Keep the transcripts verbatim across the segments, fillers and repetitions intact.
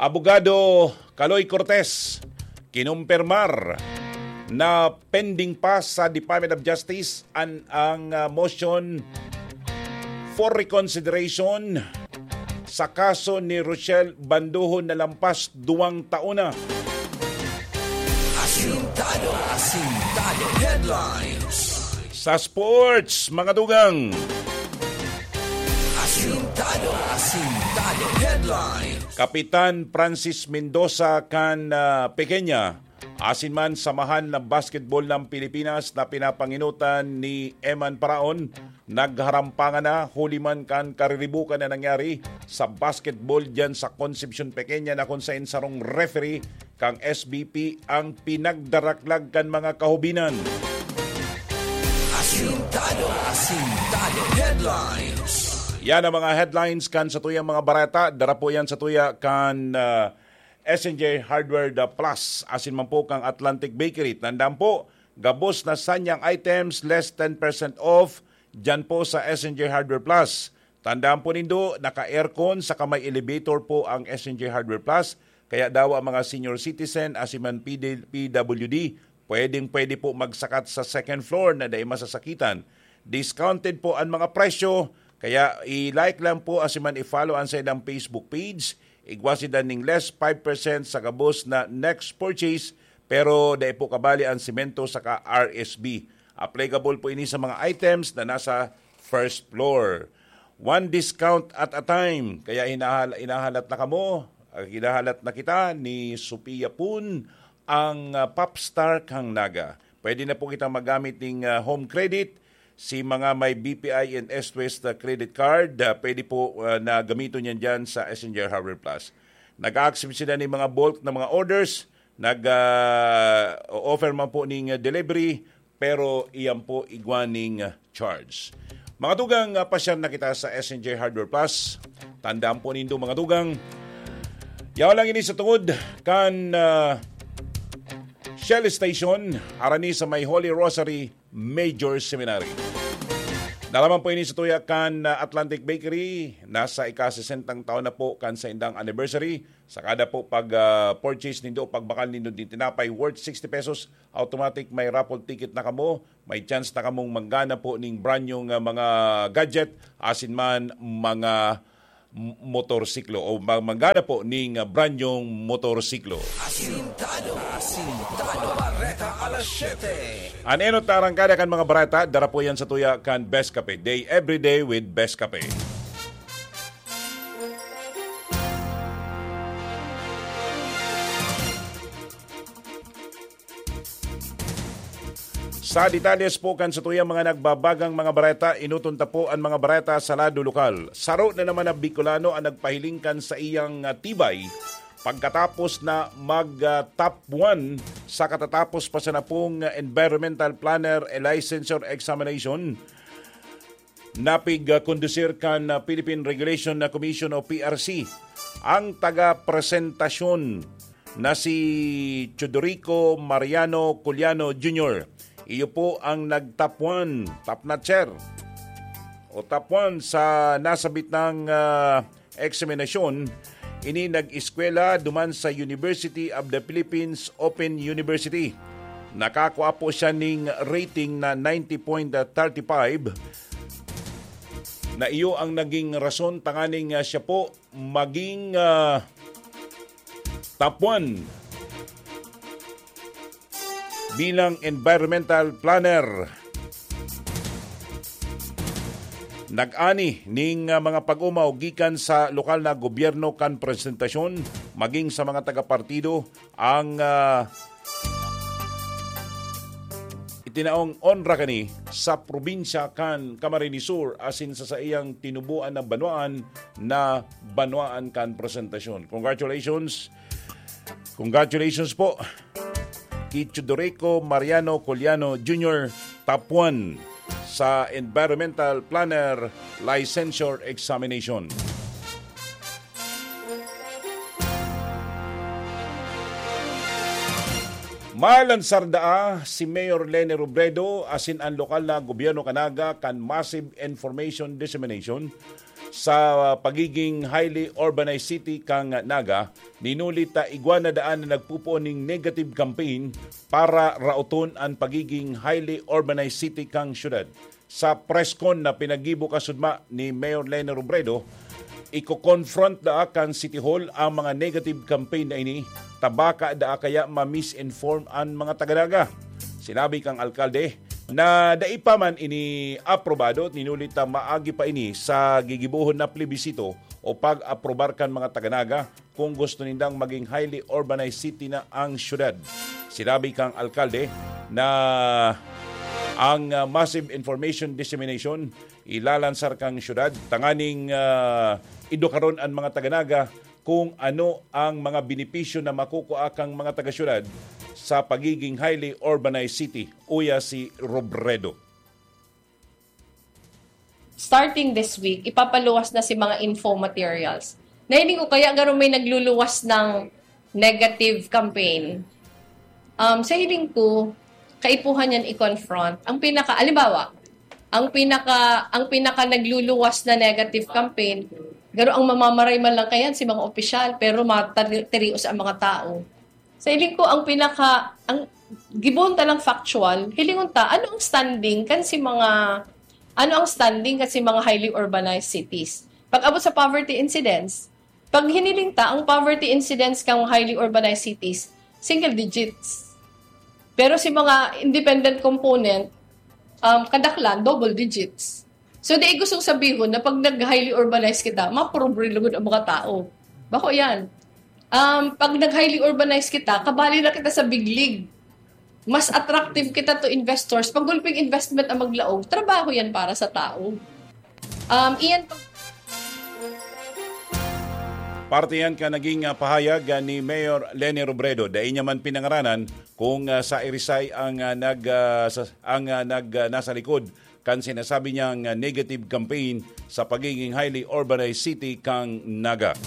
Abogado Kaloy Cortez, kinumpirmar na pending pa sa Department of Justice an, ang, ah, motion for reconsideration sa kaso ni Rochelle Banduhon na lampas duwang taon na. Asintado. Asintado Headlines. Sa sports, mga tugang. Asintado. Asintado Headlines. Kapitan Francis Mendoza kan, ah, Pequeña, asin man Samahan ng Basketball ng Pilipinas na pinapanginutan ni Eman Paraon, nagharampangan na huli man kan kariribukan na nangyari sa basketball diyan sa Concepcion Pequeña, na kun saen sarong referee kang S B P ang pinagdaraklag kan mga kahubinan. Asintado. Asintado Headlines. Yan ang mga headlines kan satuyang mga bareta. Dara po yan satuya kan, ah, S N J Hardware The Plus, asin man po kang Atlantic Bakery. Tandaan po, gabos na sanyang items, less ten percent off, dyan po sa S N J Hardware Plus. Tandaan po nindo, naka-aircon saka may elevator po ang S N J Hardware Plus. Kaya dawa ang mga senior citizen, asin man P D, P W D, pwedeng-pwede po magsakat sa second floor na dai masasakitan. Discounted po ang mga presyo, kaya i-like lang po asin man i-follow ang saindang Facebook page. Igwa sinda ning less five percent sa gabos na next purchase, pero dai po kabali ang semento saka R S B. Applicable po ini sa mga items na nasa first floor. One discount at a time. Kaya hinahal-, hinahalat na kamo, ah, hinahalat na kita ni Sophia Pun, ang, ah, popstar kang Naga. Pwede na po kitang magamit ning, ah, home credit. Si mga may B P I and S West, ah, credit card, ah, pwede po, ah, na gamiton yan dyan sa S N J Hardware Plus. Nag-a-accept sila ng mga bulk na mga orders, nag, ah, o-offer man po ning, ah, delivery, pero iyan po igwa ning, ah, charge. Mga tugang, ah, pasyal na kita sa S N J Hardware Plus. Tandaan po nindo, mga tugang, yaon lang ini sa tungod kan, ah, Shell Station, harani sa may Holy Rosary Major Seminary. Nalaman po ini sa tuya kan, ah, Atlantic Bakery. Nasa ika-sesentang taon na po kan saindang anniversary. Sa kada po pag, ah, purchase nindo, pagbakal nindo din tinapay worth sixty pesos, automatic may raffle ticket na kamo. May chance na kamong manggana po ning brand new nga mga gadget, asin man mga m-, motorsiklo o ma-, manggana po ning, ah, brand new motorsiklo. Asintado. Asintado. Bareta alas siyete. An enot na arangkada kan mga bareta, dara po yan sa tuya kan Best Cafe. Day every day with Best Cafe. Sa detalles po kan satuyang mga nagbabagang mga bareta, enoton ta po an mga bareta sa lado lokal. Saro na naman na Bicolano ang nagpahiling kan saiyang, ah, tibay pagkatapos na mag, ah, top one sa katatapos pa sana pong, ah, Environmental Planner Licensure Examination na pig-kondusir kan, ah, Philippine Regulation na Commission o P R C. Ang taga-presentasyon na si Chodorico Mariano Culiano Junior. Iyo po ang nag-top one, top notcher, o top one sa nasabit ng, ah, eksaminasyon. Ini nag-eskwela duman sa University of the Philippines Open University. Nakakua po siya ning rating na ninety point thirty-five, na iyo ang naging rason tanganing, ah, siya po maging, ah, top one bilang environmental planner. Nag-ani ning, ah, mga pag-omaw gikan sa lokal na gobyerno kan presentasyon, maging sa mga taga-partido ang, ah, itinaong onra kani sa probinsya kan Camarines Sur asin sa saiyang tinubuan na banwaan na banwaan kan presentasyon. Congratulations! Congratulations po ki Chodorico Mariano Culiano Junior, top one sa Environmental Planner Licensure Examination. Malansar daa si Mayor Leni Robredo asin an lokal na gobyerno kan Naga kan massive information dissemination sa pagiging highly urbanized city kan Naga, ninuli ta igwa na daan na nagpupuon ning negative campaign para raoton an pagiging highly urbanized city kan syudad. Sa press con na pinaggibo kasudma ni Mayor Leni Robredo, iko-confront daa kan City Hall ang mga negative campaign na ini, ta baka daa kaya ma-misinform an mga taga Naga. Sinabi kan alkalde na dai pa man ini aprobado, ninuli ta maagi pa ini sa gigibohon na plebisito o pag-aprobar kan mga taga Naga kung gusto nindang maging highly urbanized city na ang syudad. Sinabi kan alkalde na ang, ah, massive information dissemination ilalansar kan syudad tanganing, ah, edukaron an mga taga Naga kung ano ang mga benepisyo na makukua kan mga taga-syudad sa pagiging highly urbanized city, uya si Robredo. Starting this week, ipapaluwas na si mga info materials. Nahiling ko kaya garo may nagluluwas ng negative campaign. Um, sa hiling ko, kaipuhan yan i-confront. Ang pinaka, alimbawa, ang pinaka ang pinaka nagluluwas na negative campaign, garo ang mamamaray man lang kayan si mga opisyal, pero matirios ang mga tao. Sa hiling ko, ang pinaka ang gibon ta lang factual, hilingon ta ano ang standing kan si mga ano ang standing kan si mga highly urbanized cities. Pag abot sa poverty incidence, pag hiniling ta ang poverty incidence kan highly urbanized cities, single digits. Pero si mga independent component, um, kadaklan, double digits. So, di gustong sabihon na pag nag-highly urbanized kita, mapobre lugod ang mga tao. Bako yan. Um, pag nag-highly urbanized kita, kabali na kita sa big league. Mas attractive kita to investors. Pag gulping investment ang maglaog, trabaho yan para sa tao. Um, iyan pag- Parte yan ka naging ah, pahayag ah, ni Mayor Leni Robredo. Dai niya man pinangaranan kung ah, sa Irisay ang ah, nag ah, sa, ang ah, nag ah, nasa likod kan sinasabi niyang ah, negative campaign sa pagiging highly urbanized city kang Naga.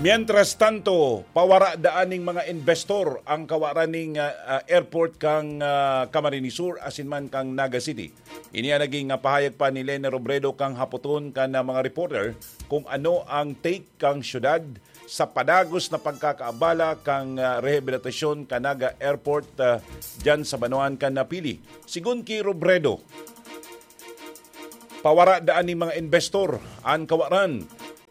Mientras tanto, pawara daan ning mga investor ang kawaran ning ah, ah, airport kang ah, Camarines Sur asin man kang Naga City. Ini ang naging ah, pahayag pa ni Leni Robredo kang hapoton kan ah, mga reporter kung ano ang take kang syudad sa padagos na pagkakaabala kang ah, rehabilitasyon kan Naga Airport ah, diyan sa banwaan kan Napili. Sigon ki Robredo, pawara daan ning mga investor an kawaran.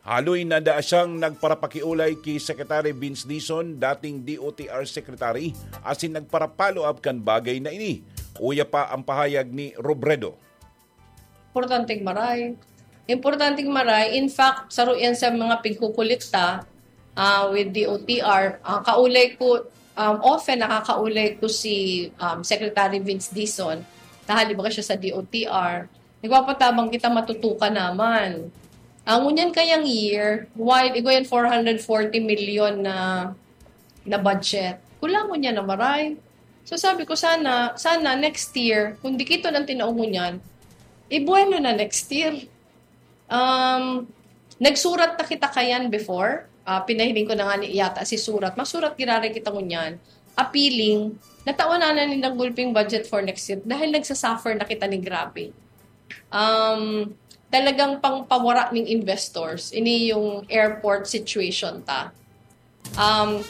Haloy na daa siyang nagparapakiolay ki Secretary Vince Dizon, dating D O T R Secretary, asin nagpara-follow up kan bagay na ini. Uya pa ang pahayag ni Robredo. Importanteng maray. Importanteng maray. In fact, saro yan sa mga pigkukulikta ah, with D O T R. Ah, kaulay ko, um, often nakakaulay ko si um, Secretary Vince Dizon. Nahali ba siya sa D O T R? Nagpapatabang kita matutukan naman. Ang ngunyan kayang year, while igo yan four hundred forty million na na budget, kulangon niya na maray. So sabi ko, sana, sana next year, kung di kito nang tinaong ngunyan, ibuwelo na next year. Um, nagsurat na kita kayan before. Ah, pinahiling ko na nga ni yata si Surat. Masurat giraray kita ngunyan. Appealing, natawan na na nindang gulping budget for next year dahil nagsasuffer na kita ni grabe. Um, talagang pangpawara ning investors. Ini yung airport situation ta. Um,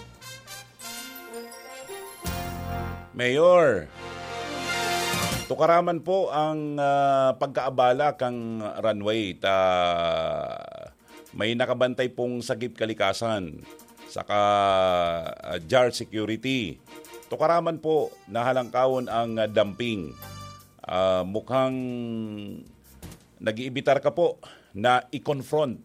Mayor, tukaraman po ang ah, pagkaabala kang runway ta may nakabantay pong sagip kalikasan saka ah, jar security. Tukaraman po na halangkawon ang ah, dumping. Ah, mukhang nag-iibitar ka po na i-confront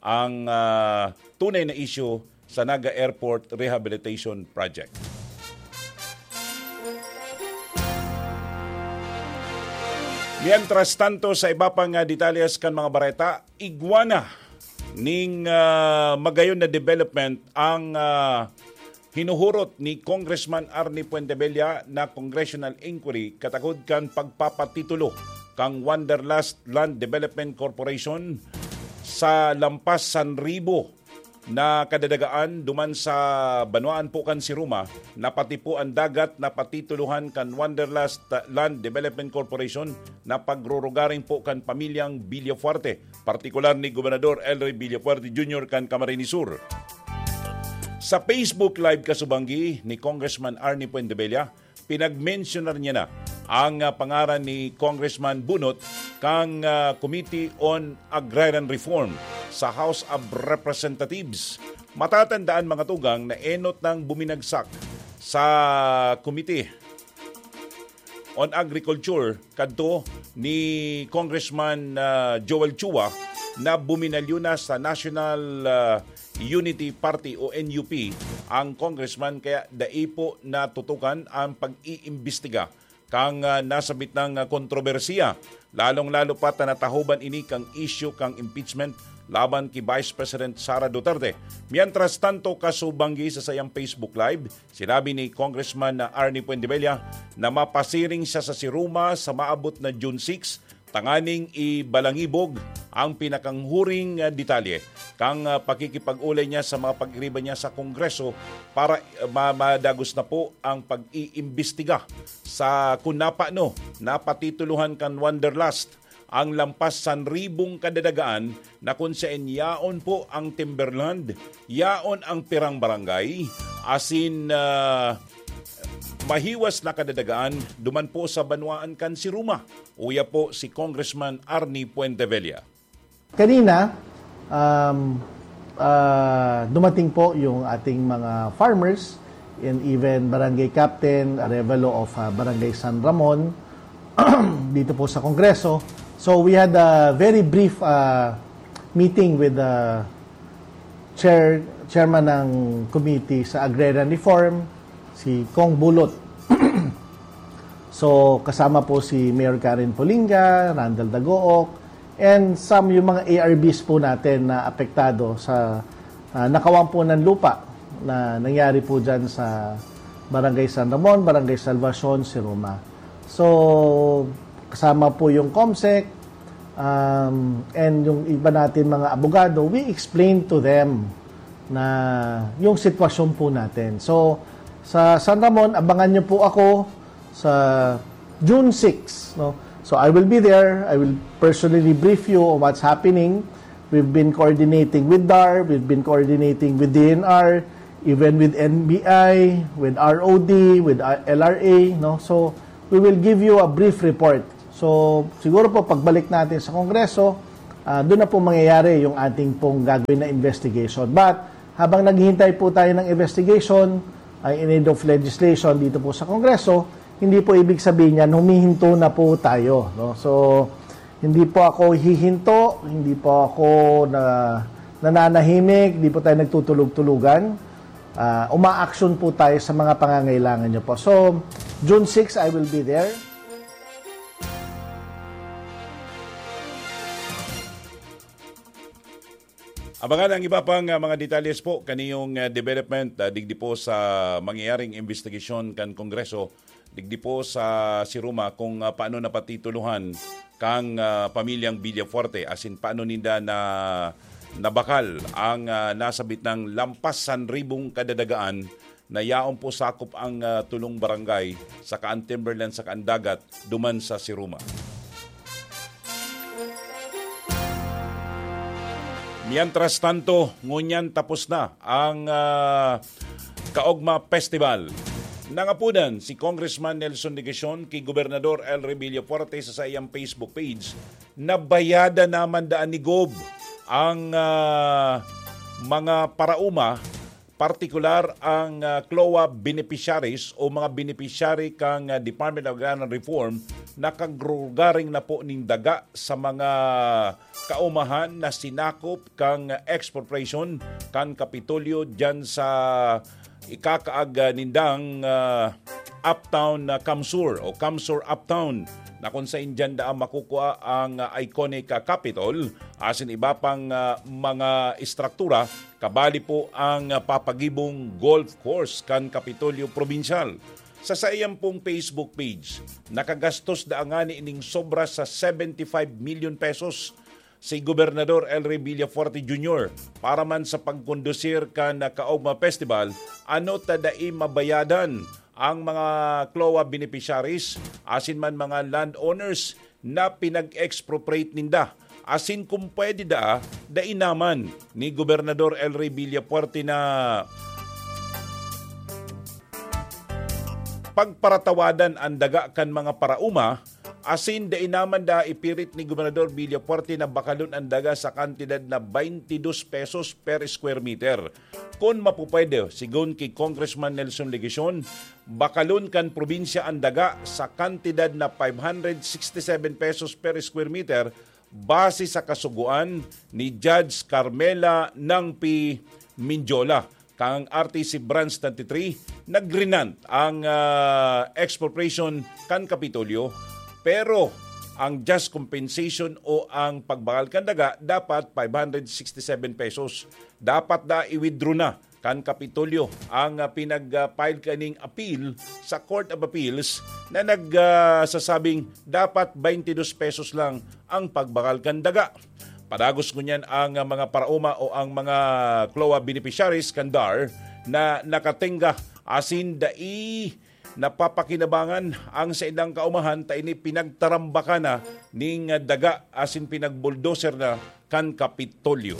ang ah, tunay na issue sa Naga Airport Rehabilitation Project. Mientras tanto, sa iba pang ah, detalles kan mga bareta, igwa na ning ah, magayon na development ang ah, hinuhurot ni Congressman Arnie Fuentebella na congressional inquiry katakod kan pagpapatitulo kan Wanderlust Land Development Corporation sa Lampas San Ribo na kadadagaan duman sa banwaan po kan Siruma, na pati po an dagat na patitulohan kan Wanderlust Land Development Corporation na pagrurugaring po kan pamilyang Villafuerte, partikular ni Gobernador Elroy Villafuerte Junior kan Camarines Sur. Sa Facebook Live kasubanggi ni Congressman Arnie Puentebella, pinagmensyonar niya na ang, ah, pangaran ni Congressman Bunot kang, ah, Committee on Agrarian Reform sa House of Representatives. Matatandaan, mga tugang, na enot nang buminagsak sa Committee on Agriculture kadto ni Congressman, ah, Joel Chua na buminalyo na sa National, ah, Unity Party o N U P ang congressman, kaya dai po natutukan ang pag-iimbestiga kang, ah, nasabit nang, ah, kontrobersiya, lalong-lalo pa ta natahoban ini kang isyu kang impeachment laban ki Vice President Sara Duterte. Mientras tanto, kasubanggi sa sayang Facebook Live, sinabi ni Congressman na Arnie Puentebella na mapasiring siya sa Siruma sa maabot na June six, tanganing ibalangibog ang pinakanghuring, ah, detalye kang, ah, pakikipag-ulay niya sa mga pag-iriba niya sa Kongreso para, ah, ma-, madagos na po ang pag-iimbestiga sa kun napano napatitulohan kan Wanderlust ang lampas sanribong kadadagaan na kun saen yaon po ang timberland, yaon ang pirang barangay, asin, ah, mahiwas na kadadagaan duman po sa banwaan kan Siruma. Uya po si Congressman Arnie Puentevella. Kanina, um, ah, dumating po yung ating mga farmers and even barangay captain, Arevalo of, ah, Barangay San Ramon, dito po sa Kongreso. So we had a very brief, ah, meeting with the chair, chairman ng committee sa Agrarian Reform, si Cong Bulot. So, kasama po si Mayor Karen Polinga, Randall Dagook, and some yung mga A R Bs po natin na apektado sa, ah, nakawan po ng lupa na nangyari po dyan sa Barangay San Ramon, Barangay Salvacion, Siruma. So, kasama po yung COMSEC, um, and yung iba natin mga abogado, we explain to them na yung sitwasyon po natin. So, sa San Ramon, abangan nyo po ako sa June six, no? So, I will be there. I will personally brief you on what's happening. We've been coordinating with DAR, we've been coordinating with D N R, even with N B I, with R O D, with, uh, L R A, no? So, we will give you a brief report. So, siguro po, pagbalik natin sa Kongreso, ah, doon na po mangyayari yung ating pong gagawin na investigation. But, habang naghihintay po tayo ng investigation, ay in aid of legislation dito po sa Kongreso, hindi po ibig sabihin yan, humihinto na po tayo, no? So, hindi po ako hihinto, hindi po ako na, nananahimik, hindi po tayo nagtutulog-tulugan. Ah, umaaksyon po tayo sa mga pangangailangan nyo po. So, June six, I will be there. Abangan ang iba pang, ah, mga detalles po kaniyong, ah, development, ah, digdi po sa mangyayaring investigasyon kan Kongreso, digdi po sa Siruma kung, ah, paano napatitulohan kang, ah, pamilyang Villafuerte, asin paano ninda na nabakal ang, ah, nasabit ng lampas sanribong kadadagaan na yaon po sakop ang, ah, tulong barangay, saka ang timberland, saka ang dagat, duman sa Siruma. Mientras tanto, ngunyan tapos na ang, ah, Kaogma Festival. Nangapudan si Congressman Nelson Degasión ki Gobernador El Revilla Fuerte sa saiyang Facebook page na bayada naman daan ni Gob ang, ah, mga parauma, partikular ang, ah, CLOA beneficiaries o mga beneficiary kan, ah, Department of Agrarian Reform na kagrugaring na po nin daga sa mga kaumahan na sinakop kan expropriation kan Kapitolyo diyan sa ikakaag, ah, nindang, ah, Uptown na CamSur o CamSur Uptown, na kung sain diyan daan makukua ang, ah, iconic, ah, Capitol, asin iba pang, ah, mga estruktura, kabali po ang, ah, papagibong golf course kan Kapitolyo Probinsyal. Sa saiyang pong Facebook page, nakagastos daa ngani ning sobra sa seventy-five million pesos si Gobernador El Rey Villafuerte Junior para man sa pagkondusir kan Kaogma Festival, ano ta dai mabayadan ang mga CLOA beneficiaries asin man mga landowners na pinag-expropriate ninda. Asin kung pwede daa, dai naman ni Gobernador El Rey Villafuerte na pagparatawadan an daga kan mga paraoma, asin dai naman daa ipirit ni Gobernador Villafuerte na bakalon an daga sa kantidad na twenty-two pesos per square meter. Kun mapupwede, sigon ki Congressman Nelson Legacion, bakalon kan probinsya an daga sa kantidad na five hundred sixty-seven pesos per square meter base sa kasugoan ni Judge Carmela Nangpi Mindiola kan R T C Branch twenty-three, nag-grant ang ah, expropriation kan Kapitolyo, pero ang just compensation o ang pagbakal kan daga dapat five hundred sixty-seven pesos. Dapat na i-withdraw na kan Kapitolyo ang ah, pinag-file kaning appeal sa Court of Appeals na nagsasabing dapat twenty-two pesos lang ang pagbakal kan daga. Padagos ngunyan ang ah, mga paraoma o ang mga CLOA beneficiaries kan DAR na nakatenga asin dai napapakinabangan ang saindang kaomahan ta ini pinagtarambakan na ning daga asin pinagbulldozer na kan Kapitolyo.